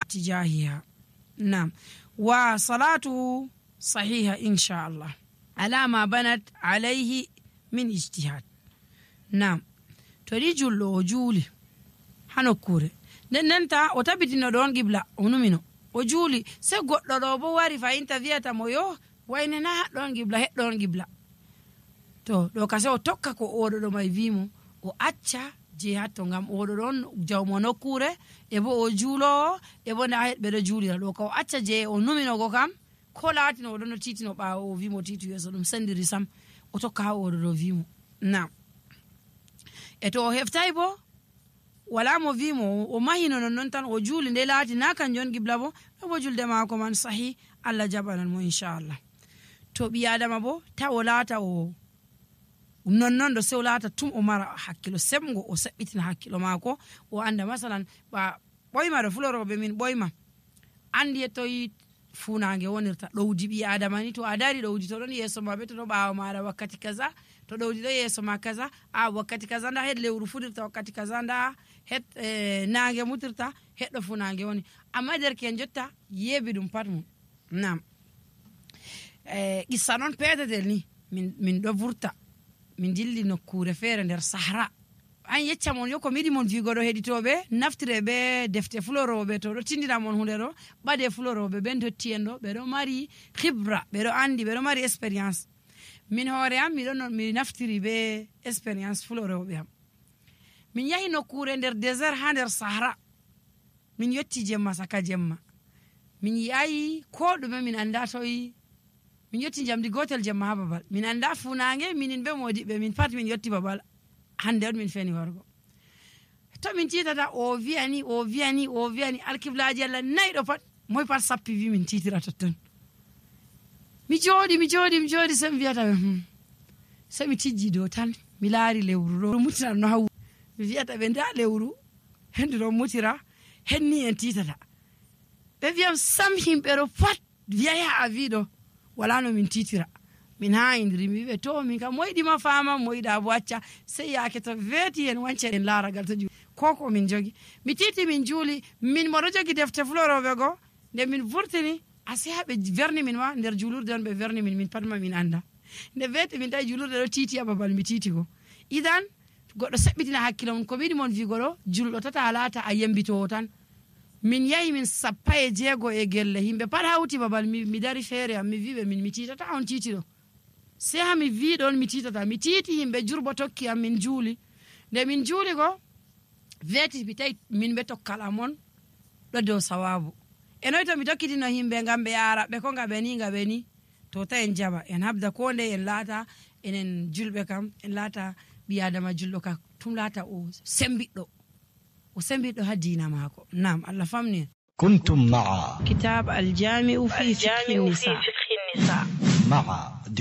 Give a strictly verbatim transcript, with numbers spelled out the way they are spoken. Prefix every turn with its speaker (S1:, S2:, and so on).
S1: اتجاهها. نعم. وصلاته صحيحة إن شاء الله على ما بنت عليه من اجتهاد. نعم. تريجو لو جولي hano kure nden nenta o tabitino don gibla onumino o juuli se goddo do bo wari fa interviewta mo yo wayne na don gibla het don gibla to do kase o tokka ko odo do may vimo o acca je hatto ngam odo don jawmo no kure e bo o juulo e bo na het be do juulira do ko acca je o numino go kam ko latino o don titino baawo o vimo titu yeso dum sendiri sam o tokka odo do vimo. Na e to o heftay bo wala mo vimo o mahino non non tan o juuli nde laati na kan jon gibla bo bo julde maako man sahi Allah jabanan mo inshallah. To bi adama bo ta o laata o non non do sew laata tum o mara hakkilo semgo o sabbitina hakkilo maako o anda masalan ba boyma do fulorobe min boyma andi to yi funaange wonirta dowdi bi adama ni to adari dowdi to don yeso mabe to do baawo mara wakkati kaza to dowdi do yeso ma kaza a wakkati kaza nda hed lewru fudirta wakkati kaza nda het eh, naange mutirta heddo fu naange woni amma derken jotta yebi dum pat mum. Nam eh gissa non pededel ni min min do vurta min dilli nokkure fere nder sahara an yecca mon yoko midi mon vigodo heditobe naftire be defte fulorobe to do tindina mon hunde do bade fulorobe ben to tiendo be do mari khibra be do andi be do mari experience min hore am mi don mi naftiri be experience fulorobe am min yahi nokkure nder désert ha nder sahara min yotti jemma saka jemma min yayi ko dume min anda toyi min yotti jamdi gotel jemma ha babal min anda funaange minin be modibe min pat min yotti babal hande on min feni wargo to min titata o viani o viani o viani alkiblaji alla naydo pat moy pat sappi vi min titira totton mi jodi mi jodi mi jodi sem viata hmm so mi tijji do tan mi laari lewru do mutira no haw mi viata be nda lewru hendu do mutira henni en titata be viam sam himbe do pat viaya avido wala no min titira min ha indiri mi be to min ka moydi ma fama moyda bo acca sey yaake to veti en wance en laaragal to ju koko min jogi mi titi min juuli min mo do jogi defte florobe go de min vurtini ase habe verni min wa nder julurde on be verni min min patma min anda de veti min tay julurde do titi ababal mi titi go idan goddo sabbitina hakkilo mon ko bidi mon vi godo juldo tata alata a yembito tan min yayi min sappaye jego e gelle himbe pat hawti babal mi, mi dari fere am mi vibe min mi titata on titi do se ha mi vi don mi titata mi titi himbe jurbo tokki am min juuli de min juuli go veti bi tay min be tokkala mon do do sawabu enoy to mi tokkitino himbe ngambe yara be ko ngabe ni ngabe ni to ta en jaba en habda ko nde en laata enen julbe kam en laata bi adama juldo ka tum laata o sembiddo o sembiddo ha diina mako. Naam Allah famni.
S2: كنتم مع
S1: كتاب الجامع في فقه النساء
S2: مع